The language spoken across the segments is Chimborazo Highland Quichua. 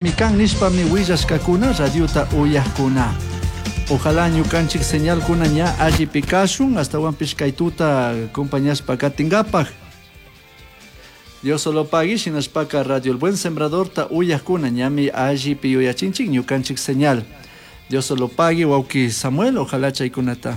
Kan nishpami willashkakuna radiota uyajkuna. Ojalá ñukanchik señalkuna ña allipi kashun astawanpish kay tuta acompañashpa katingapaj. Dios solo pagui shinashpaka Radio El Buen Sembradorta uyajkuna ñami allipi yuyachinchik ñukanchik señal. Dios solo pagui wawki Samuel, ojalá chaykunata.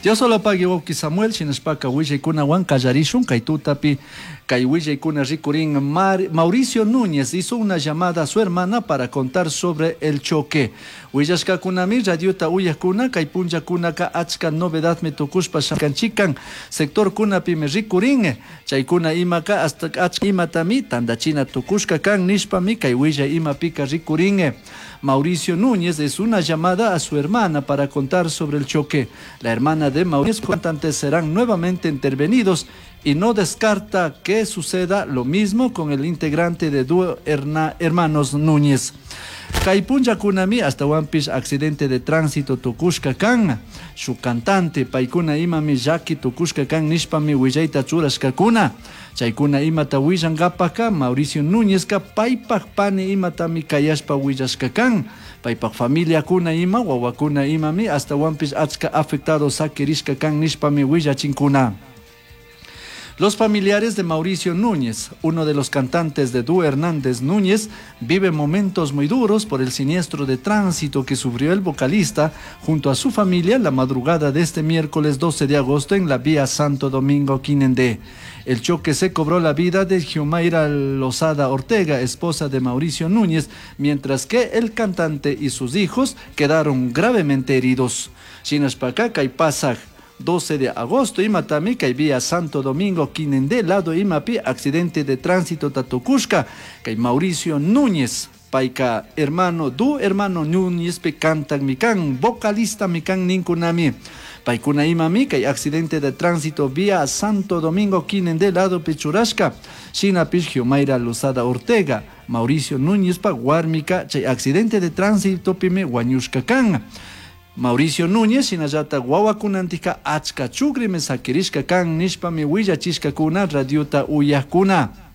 Dios solo pagui wawki Samuel, shinashpaka willaykunawan qallarishun kay tutapi kay willaykuna rikurin. Mauricio Núñez hizo una llamada a su hermana para contar sobre el choque. Willashkakunami radiota uyajkuna kay punllakunaka achka novedadmi tukushpa shakanchikan sectorkunapimi rikurin chaykuna imaka hasta achka imatami tandachina tukushka kan nishpami kay willay imapika rikurin. Mauricio Núñez es una llamada a su hermana para contar sobre el choque. La hermana de Mauricio cantantes serán nuevamente intervenidos y no descarta que suceda lo mismo con el integrante de dúo Hermanos Núñez. Kay punllakunami astawanpish accidente de tránsito tukushka kan. Su cantante paykuna imami llaki tukushka kan nishpami willayta churashkakuna. Chaykuna imata willankapaka Mauricio Núñezka paypak pani imatami kayashpa willashka kan. Paypak familiakuna ima wawakuna imami astawanpish achka afectado sakirishka kan nishpami willachinkuna. Los familiares de Mauricio Núñez, uno de los cantantes de Dúo Hernández Núñez, viven momentos muy duros por el siniestro de tránsito que sufrió el vocalista junto a su familia la madrugada de este miércoles 12 de agosto en la vía Santo Domingo Quinindé. El choque se cobró la vida de Giumaira Lozada Ortega, esposa de Mauricio Núñez, mientras que el cantante y sus hijos quedaron gravemente heridos. Shinashpaka kay pasaj 12 de agosto imatami kay vía Santo Domingo Quinindé lado imapi accidente de tránsito tatukushka kay Mauricio Núñez payka hermano du hermano Núñez pe cantan mikan vocalista mikan ninkunami paykuna imami kay accidente de tránsito vía Santo Domingo Quinindé lado pichurashka shinapish Giumaira Lozada Ortega Mauricio Núñez pa warmika chay accidente de tránsito pimi wañushka kan. Mauricio Núñez shinallata wawakunantika achka chukrimi sakirishka kan nishpami willachishkakuna radiota uyajkuna.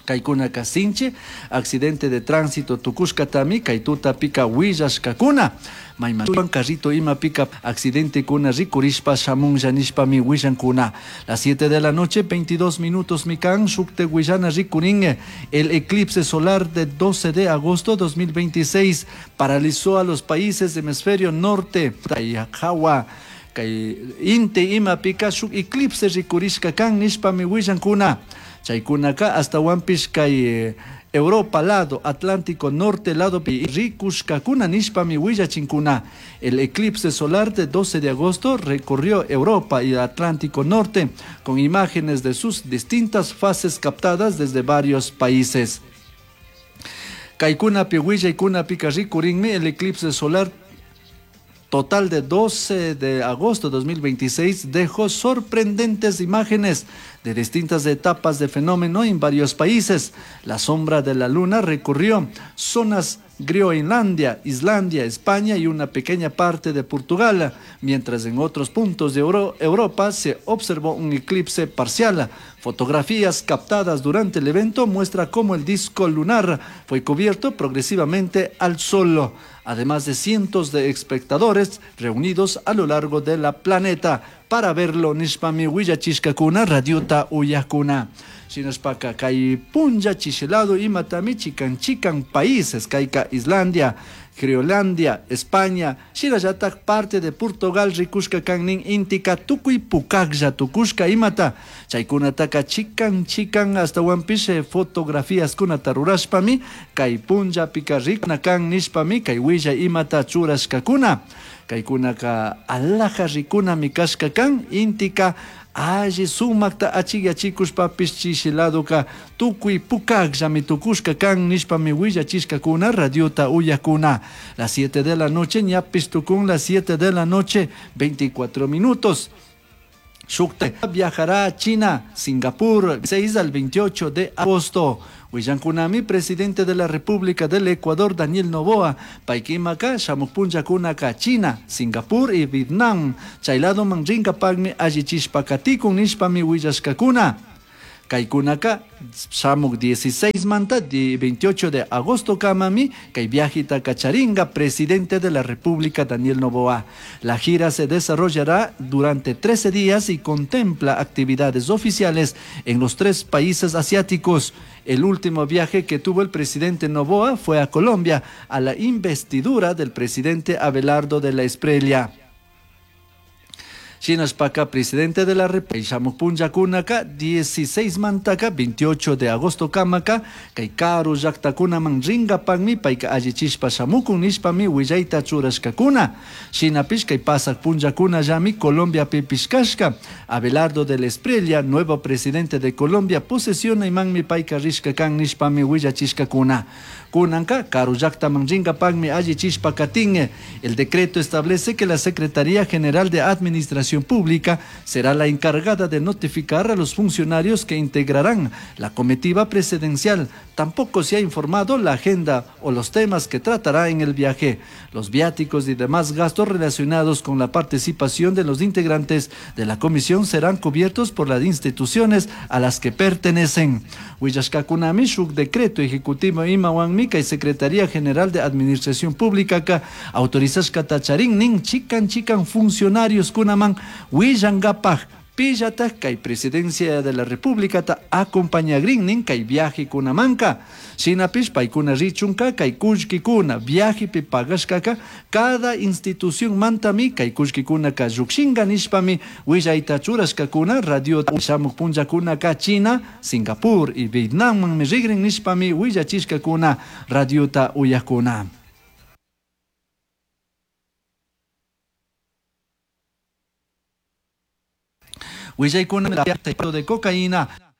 Kaykunaka sinchi accidente de tránsito tukushkatami kay tutapika willashkakuna. Mayman carrito imapika accidente kuna rikurishpa shamunlla nishpami willankuna. Las 7 de la noche, 22 minutos mikan shukte willana rikurin. El eclipse solar de 12 de agosto 2026 paralizó a los países del hemisferio norte. Jawa kay inti imapika shuk eclipse rikurishka kan nishpami willankuna. Chaykunaka astawanpish kay Europa lado, Atlántico Norte lado rikushkakuna nishpami willachinkuna. El eclipse solar de 12 de agosto recorrió Europa y Atlántico Norte con imágenes de sus distintas fases captadas desde varios países. Kaykunapi willaykunapika rikurinmi el eclipse solar total de 12 de agosto de 2026 dejó sorprendentes imágenes de distintas etapas de fenómeno en varios países. La sombra de la luna recorrió zonas Groenlandia, Islandia, España y una pequeña parte de Portugal, mientras en otros puntos de Europa se observó un eclipse parcial. Fotografías captadas durante el evento muestra cómo el disco lunar fue cubierto progresivamente al sol, además de cientos de espectadores reunidos a lo largo de la planeta para verlo nishpami willachishkakuna radiota uyajkuna. Shinashpaka kay punlla chishilado imatami chikan chikan países kayka Islandia, Groenlandia, España, shinallatak parte de Portugal rikushka kannin intika tukuy pukaklla tukushka imata chaykunataka chikan chikan astawanpish fotografías kunata rurashpami kay punllapika rikuna kan nishpami kay willay imata churashkakuna. Kaykunaka alaja rikunami kashka kan intika alli sumakta achikyachikushpapish chishiladoka tukuy pukakllami tukushka kan nishpami willachishkakuna radiota uyakuna. Las 7 de la noche ñapish tukun las 7 de la noche 24 minutos. Shukta viajará a China, Singapur, 6 al 28 de agosto. Willankunami, presidente de la República del Ecuador, Daniel Noboa, paykimaka, shamuk punllakunaka, China, Singapur y Vietnam. Chaylado manrinkapakmi allichishpa katikun nishpami willashkakuna. Kaykunaka shamuk 16 manta 28 de agosto kamami kay viajeta kacharinga presidente de la República Daniel Noboa. La gira se desarrollará durante 13 días y contempla actividades oficiales en los tres países asiáticos. El último viaje que tuvo el presidente Noboa fue a Colombia a la investidura del presidente Abelardo de la Espriella. Shinashpaka presidente de la República shamuk punllakunaka 16 mantaka 28 de agosto kamaka kay karu llaktakunaman rinkapakmi payka allichishpa shamukun nishpami willayta churashkakuna. Shinapish kay pasak punllakunallami Colombiapipish kashka. Abelardo de la Espriella, nuevo presidente de Colombia, posesionaymanmi payka rishka kan nishpami willachishkakuna. Kunanka karu llaktaman rinkapakmi allichishpa katin. El decreto establece que la Secretaría General de Administración Pública será la encargada de notificar a los funcionarios que integrarán la comitiva presidencial. Tampoco se ha informado la agenda o los temas que tratará en el viaje. Los viáticos y demás gastos relacionados con la participación de los integrantes de la comisión serán cubiertos por las instituciones a las que pertenecen. Willashkakunami shuk decreto ejecutivo imawanmi kay Secretaría General de Administración Pública ka autorizashkata charin nin chikan chikan funcionarios kunaman willankapaj pillataj kay presidencia de la República ta acompañagrin nin kay viaje kunamanka. Shinapish paykuna richunka kay kullkikuna viajepi pagashkaka cada institución mantami kay kullkikunaka llukshinka nishpami willayta churashkakuna radio shamuk punllakunaka China, Singapur y Vietnammanmi rigrin nishpami willachishkakuna radiota uyakuna. Willaykuna de cocaína.